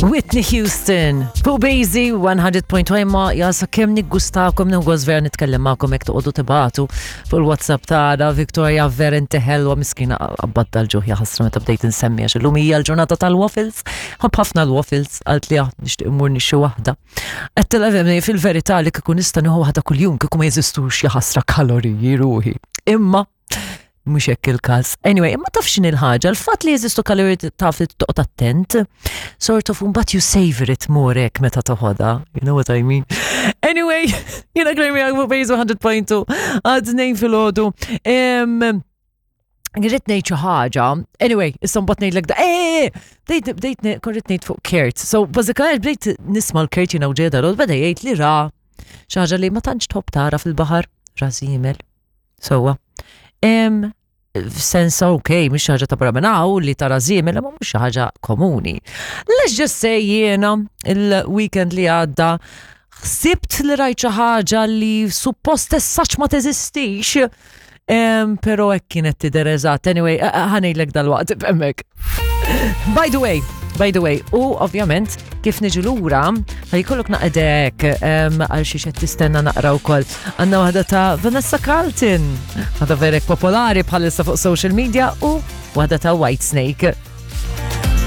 Whitney Houston, fuq Bazy 100.1 ma jasa kemm niggustakom nugos vera nitkellem magħkom hekk toqgħodu tibatu fuq il-WhatsApp tagħna Victoria vera inti ħelwa miskina qabad dal-ġuħ jaħasra meta bdejt insemmi għax illum hija l-ġurnata tal-waffles. Ħobb ħafna l-waffles qalt li ah, nixtieq immur nixxi waħda. Qed fil-verità li kieku nista' nieħu waħda kuljum kieku ma jeżistux jaħasra kaloriji ruħi. Imma mhux hekk il-każ. Anyway, imma taf x'inhi l-ħaġa, l-fatt li jeżistu kaloriji taf li toqgħod attent, sort of mbagħad you savor it more hekk meta toħodha. You know what I mean? Anyway, jiena Claire għagmu bejżu 100.2 għad nejn fil-ħodu. Irrid ngħid xi ħaġa. Anyway, issa mbagħad ngħidlek da. Eh, bdejt bdejt korrit ngħid fuq Kurt. So bażikament bdejt nisma' l-Kurt jiena u ġejda beda jgħid li ra xi ħaġa li ma tantx tħobb tara fil-baħar, rażimel. Sowa. F'sens ok, mhix xi ħaġa ta' barra minn hawn li tara żiemel, imma mhux xi ħaġa komuni. Let's just say jiena il-weekend li għadda ħsibt li rajt xi ħaġa li suppost essaċ ma teżistix. Pero hekk kienet tidher eżatt. Anyway, ħanejlek dal-waqt hemmhekk. By the way, by the way, u ovvjament kif niġu lura, ħajkollok naqdek għal xi qed tistenna naqra wkoll. Għandna waħda ta' Vanessa Carlton, waħda verek popolari bħalissa fuq social media u waħda ta' White Snake.